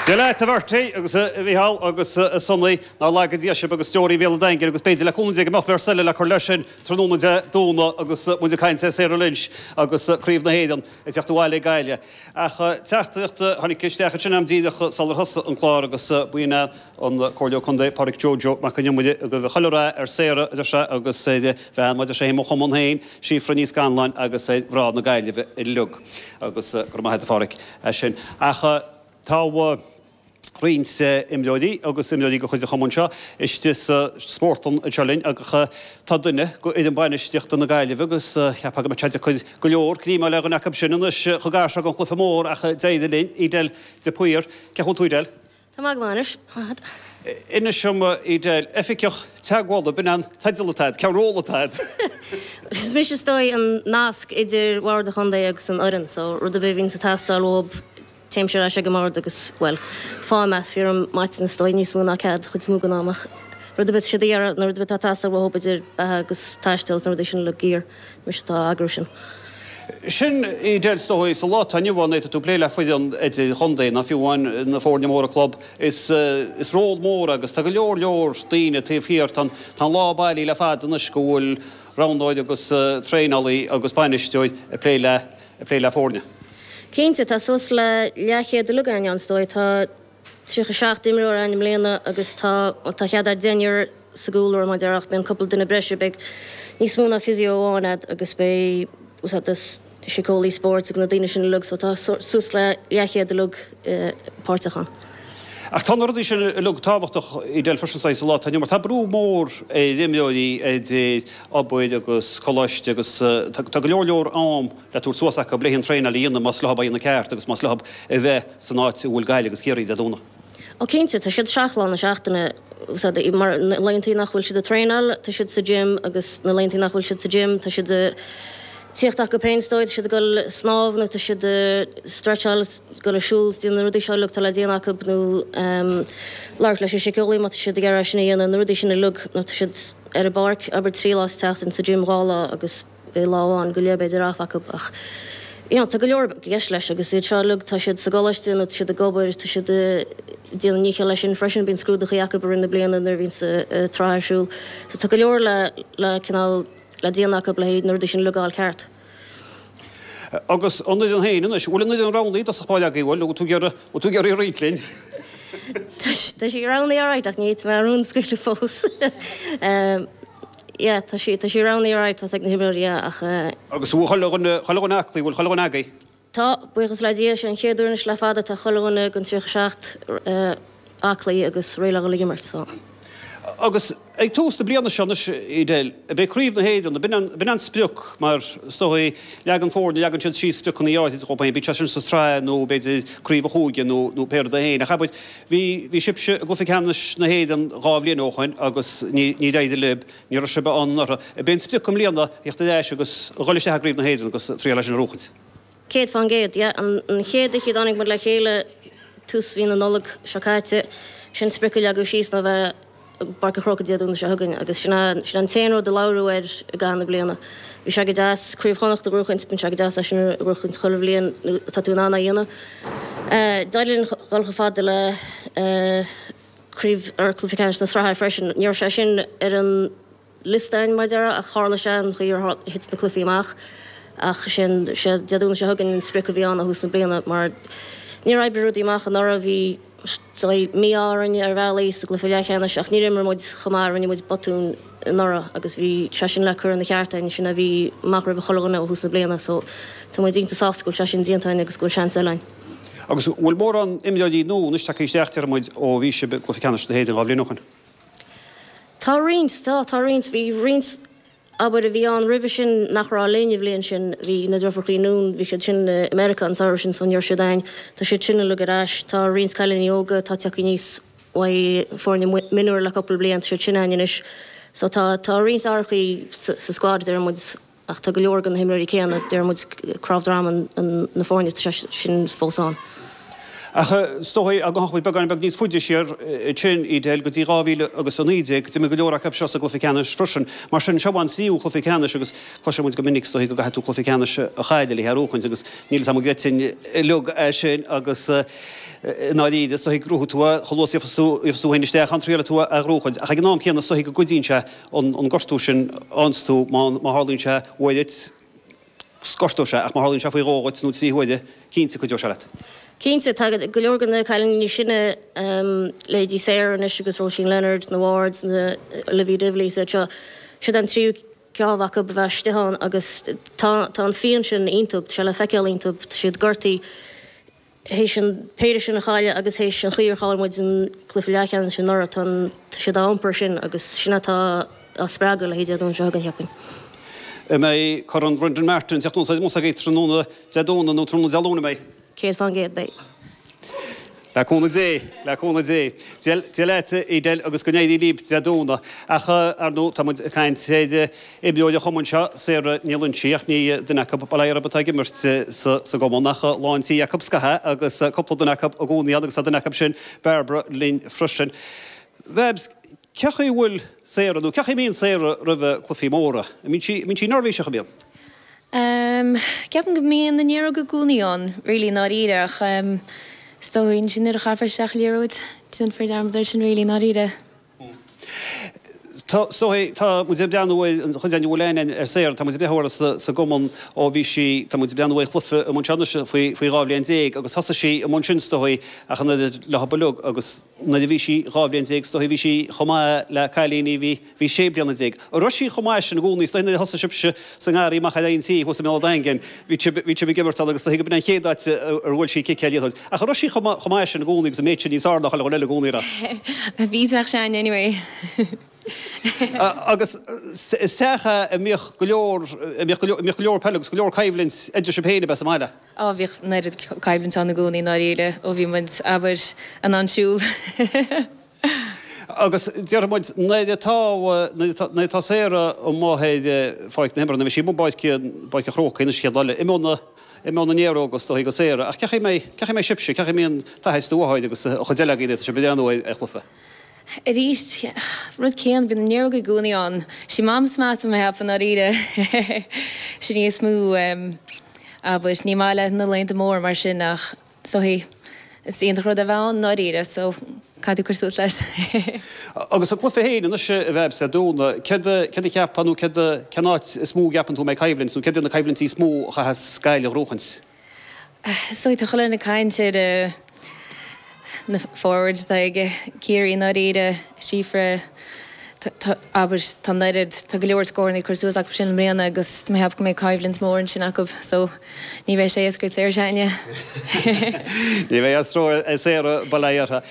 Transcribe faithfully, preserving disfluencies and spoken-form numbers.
Dia leat a Bhertie agus a Mhícheál agus a Sonny nár laga Dia sibh agus deoraí Bhéal an Daingin agus b'fhéidir le cúnamh Dé go mbeadh véarsa eile le cur leis sin tráthnóna Dé Domhnaigh agus muid ag caint ar Sarah Lynch agus Craobh na hÉireann ag teacht abhaile ag Gaillimh. Ach teachtaireacht tháinig isteach ansin am díreach sular thosaigh an clár agus b'in an Comhairleoir Contae Pádraic Joe Joe Mac an Iomaire go raibh chuile rath ar Sarah a deir sé agus ar a bhean mar a deir sé mo chumann féin Síofra Ní Scanláin agus ar mhná na Gaillimhe uilig agus go raibh maith agat a Phádraic as sin. Ach tá roinnt imreoirí agus imreoirí de chuid an chumainn seo istigh sa spórtlann anseo linn agus tá duine de fhoireann bainistíochta na Gaillimhe agus cheapfá go mbeadh sé deacair go leor greim a fháil ar dhuine acu sin anois chomh gar seo don chluiche mór ach d'éirigh linn Edel de Paor. Cén chaoi a bhfuil tú Edel? Tá maith go maith anois. Inis dom Edel, oifigeach teagmhála, b'in an teideal atá agat, cén ról atá agat? Is mise is dóigh an nasc idir Bhord an Chontae agus an fhoireann, so rud ar bith a bhíonns ag teastáil uathu téimse ar ais ag an mbord agus, bhuel, fáim é, fíor maidin is dóigh níos mó ná cead, chuid is mó den am ach rud ar bith siad a iarraidh nó rud ar bith atá ag teastáil uathu idir beatha agus taisteal is na rudaí sin uilig gear, mise atá á eagrú sin. Sin Edel is dóigh sa lá atá inniu ann, tá tú ag plé le foireann idir-chontae nó fiú amháin na foirne móra club, is is ról mór agus tá go leor leor daoine taobh thiar, tá an tá an lá bailí le fada anois go bhfuil roghnóir agus traenálaí agus bainisteoir ag plé le ag plé le foirne. Cinnte, tá suas le leathchéad uilig againn ann, is dóigh. Tá tríocha seacht imreoir ann i mbliana agus tá, bhuel, tá cead a'd deichniúr sa gcúlra, mar a déarfá, ach bíonn cúpla duine breise, beidh níos mó ná physio amháin a'd agus beidh, úsáid as síceolaí spóirt agus na daoine sin uilig, so tá suas le leathchéad uilig páirteach ann. Ach tá na rudaí sin uilig tábhachtach Edel freisin sa lá atá inniu mar tá brú mór ar imreoirí idir obair agus coláiste agus tá go leor leor am le tabhairt suas acu le an traenáil a dhéanamh más leo a dhéanamh ceart agus más leo a bheith san áit a bhfuil Gaillimh agus Ciarraí Dé Domhnaigh. Ó cinnte, tá siad seacht lá na seachtaine mar na laethanta nach bhfuil siad ag traenáil, tá siad sa gym agus na laethanta nach bhfuil siad sa gym, tá siad ag tíocht acu féin is dóigh, tá siad ag dul ag snámh nó tá siad ag stretcháil, ag dul ag siúl, déanamh na rudaí seo uilig atá le déanamh acu nó labhairt leis an síceolaí má tá siad ag iarraidh sin a dhéanamh, na rudaí sin uilig nó tá siad ar an bpáirc, abair trí lá sa tseachtain, sa gym dhá lá agus beidh lá amháin go leith b'fhéidir off acu ach you know tá go leor i gceist leis agus iad seo uilig tá siad sa gcoláiste nó tá siad ag obair, tá siad ag déanamh nícheall leis sin freisin, bíonn scrúduchaí acu i rith na bliana nuair a bhíonn an tsraith ar siúl so tá go leor le le cineál le déanamh acu le haghaidh na rudaí sin uilig a fháil ceart. Agus an fhoireann féin anois, bhfuil an fhoireann roghnaithe i dtosach báire agaibh, bhfuil, bhfuil tú ag iarraidh, bhfuil tú ag iarraidh roinnt linn? Tá sí roghnaithe alright ach ní fhéadfaidh mé an rún a scaoileadh fós. Yeah, tá sí, tá sí roghnaithe alright, tá's ag na himreoirí, yeah, ach. Agus bhfuil chuile dhuine, chuile dhuine aclaí, bhfuil chuile dhuine agaibh? Tá, buíochas le Dia, sé an chéad uair anois le fada tá chuile dhuine den tríocha seacht aclaí agus réidh le dhul ag imirt, so. Agus ag tús na bliana seo anois, Edel, beidh Craobh na hÉireann, b'in an, b'in an sprioc mar is dóigh, leagann foirne, leagann siad síos spriocanna áirithe dhóibh féin, bíodh sé sin sa tsraith nó b'fhéidir Craobh an Chúige nó, nó pé rud é féin. Ach abair, bhí, bhí sibhse i gcluiche ceannais na hÉireann dhá bhliain ó shoin agus ní, níor éirigh libh, ní raibh sibh ann anuraidh. B'é an sprioc i mbliana a theacht ar ais agus a dhul isteach i gCraobh na hÉireann agus triail é sin a bhuachaint. Céad fán gcéad, yeah. An chéad oíche a dtáinig muid le chéile, tús mhí na Nollag seo caite, sin sprioc a leagadh síos ná bheith i bPáirc an Chrócaigh Dé Domhnaigh seo chugainn agus sin é, sin an t-aon rud a labhradh air i gcaitheamh na bliana. Bhí sé go deas Craobh Chonnacht a ghnóchaint, bíonn sé go deas é sin a ghnóchaint chuile bhliain nuair atá tú in ann é a dhéanamh. D'éirigh linn dhul chomh fada le craobh, or cluiche ceannais na sraithe freisin. Ní raibh sé sin ar an. liosta againn, mar a déarfá, ach tharla sé an chaoi ar thit na cluichí amach. Ach sin, sé Dé Domhnaigh seo chugainn an sprioc a bhí ann ó thús na bliana mar níor oibrigh rudaí amach anuraidh. Bhí saghas mí-ádh orainn ar bhealaí sa gcluiche leathcheannais ach níor imir muid chomh maith, rinne muid botúin anuraidh agus bhí sé sin le cur ina cheart againn, sin a bhí amach roimh chuile dhuine ó thús na bliana so tá muid iontach sásta go bhfuil sé sin déanta againn agus go bhfuil seans eile againn. Agus bhfuil mórán imreoirí nua anois tagtha isteach, déarfaidh muid, ó bhí sibh i gcluiche ceannais na hÉireann dhá bhliain ó shin? Tá roinnt, tá, tá roinnt. Bhí roinnt, abair, a bhí ann roimhe sin nach raibh linn an bhliain sin. Bhí na deirfiúrachaí Noone, bhí siad sin i Meiriceá an samhradh sin so ní raibh siad againn. Tá siad sin uilig ar ais. Tá roinnt cailíní óga atá tagtha aníos uaidh foirne mionúir le cúpla bliain, tá siad sin againn anois. So tá, tá roinnt athrachaí sa, sa squad, deir muid. Ach tá go leor de na himreoirí céanna, deir muid, cnámh droma na foirne, tá sé sin fós ann. Ach is dóigh go ndeachaigh muid beagán beag níos faide siar ansin, Edel, go dtí dhá mhíle agus a naoi déag, d'imir go leor acu seo sa gcluiche ceannais freisin. Mar sin, seo an tríú cluiche ceannais agus cloiseann muid go minic is dóigh go gcaithfidh tú cluiche ceannais a chailleadh le é a bhuachaint agus níl fhios agam an gcreidfinn uilig é sin agus i ndáiríre is dóigh go ngnóthóidh tú é chomh luath is a gheobhas tú féin isteach ann triailfidh tú é a ghnóchaint. Ach ag an am céanna is dóigh go gcuidíonn sé an gortú sin a fhaigheanns tú má tharlaíonn sé uair duit, gortóidh sé, ach má tharlaíonn sé faoi dhó dhuit nó trí huaire, cinnte cuideoidh sé leat. Cinnte, tá go leor de na cailíní níos sine, leithéidí Sarah anois agus Róisín Leonard, na Wards, na Olivia Divilly, is iad seo, siad an tríú ceann acu a bheith istigh ann agus tá tá an phian sin iontu, tá sé le feiceáil iontu, tá siad gortaithe théis an péire sin a chailleadh agus théis an chaoi ar chaill muid an cluiche leathcheannais anuraidh, tá an tá siad á iompar sin agus sin atá á spreagadh le haghaidh Dé Domhnaigh seo chugainn, cheapfainn. An mbeidh Corn Brendan Martin ag teacht anuas agaibh tráthnóna Dé Domhnaigh nó tráthnóna Dé Luain, an mbeidh? Céad fán gcéad, beidh. Le cúnamh Dé, le cúnamh Dé. Dia leat, Edel, agus go n-éirí libh Dé Domhnaigh. Ach, ar ndóigh, tá muid ag caint ar imreoir an chumainn seo, Sarah Ní Loinsigh, ach ní duine acu bail ó Dhia orthu atá ag imirt sa gcumann, ach lán tí acu scaithe agus cúpla duine acu i gcónaí ann agus tá duine acu sin, Barbara, linn freisin. Bhabs, cé chaoi a bhfuil Sarah, nó cé chaoi a mbíonn Sarah roimh cluichí móra? An mbíonn sí neirbhíseach, an mbíonn? Ehm, ceapaim go mbíonn na néaróga i gcónaí ann, really, i ndáiríre, ach ehm, is dóigh ansin nuair a chaithfear isteach liathróid, déanfar dearmad air sin, really, i ndáiríre. Tá, is dóigh, tá muid ag breathnú ar, an chuid againn a bhfuil aithne ar Sarah, tá muid ag breathnú uirthi sa, sa gcumann ó bhí sí, tá muid ag breathnú ar chluiche amuigh anseo anois faoi, faoi dhá bhliain déag agus thosaigh sí amuigh ansin is dóigh ach an oiread leo uilig agus nuair a bhí sí dhá bhliain déag is dóigh bhí sí chomh maith le cailíní a bhí Bhí sé bliana déag. An raibh sí chomh maith sin i gcónaí? Is dóigh nuair a thosaigh sibhse sa ngarraí amach ar aghaidh an tí thuas i mBéal an Daingin, bhí sibh, bhí sibh ag imirt ann agus is dóigh go b'in an chéad áit ar bhuail sí cic ar liathróid. Ach an raibh sí chomh maith, chomh maith sin i gcónaí agus an méid sin níos fearr ná chuile dhuine eile i gcónaí, an raibh? Bhí teach s'againne anyway. Agus is teach é a mbíodh go leor, a mbíodh go leor, a mbíodh go leor peile agus go leor coimhlint idir sibh féin ab ea sa mbaile? Á, bhíodh an oiread coimhlint ann i gcónaí i ndáiríre ó bhí muid, abair, in ann siúl. Agus déarfaidh muid, nuair atá, nuair atá Sarah amuigh ar pháirc na himeartha, nuair a bhí sí amuigh i bPáirc, bPáirc an Chrócaigh anois an chéad lá eile, imeoidh na, imeoidh na néaróga is dóigh go Sarah. Ach cé chaoi a mbeidh, cé chaoi a mbeidh sibhse, cé chaoi a mbíonn d'athair is do mháthair agus an chuid eile agaibh nuair atá sibh ag breathnú ar, ar chluiche? Arís, rud céanna, bíonn na néaróga i gcónaí ann. Sí Mam is measa mé a cheapadh, i ndáiríre. Sin í is mó, abair, ní maith léi na laethanta móra mar sin ach is dóigh, Is iontach rud é a bheith ann, i ndáiríre, so caithfidh tú cur suas leis. Agus an cluiche féin anois, a Bhabs, Dé Domhnaigh, céard a, céard a cheapfá nó céard a, cén áit is mó a gceapann tú a mbeidh coimhlint nó céard iad na coimhlintí is mó a chaithfeas Gaillimh a ghnóchaint? Is dóigh, tá chuile dhuine ag caint ar na forwards atá ag Ciarraí, i ndáiríre, Síofra, tá, abair, tá an oiread, tá go leor scóranna curtha suas acu sin i mbliana agus tá mé ag ceapadh go mbeidh coimhlint mhór ansin acu so ní bheidh sé éasca ag Sarah s'againne. Ní bheidh stró ar Sarah, bail ó Dhia uirthi.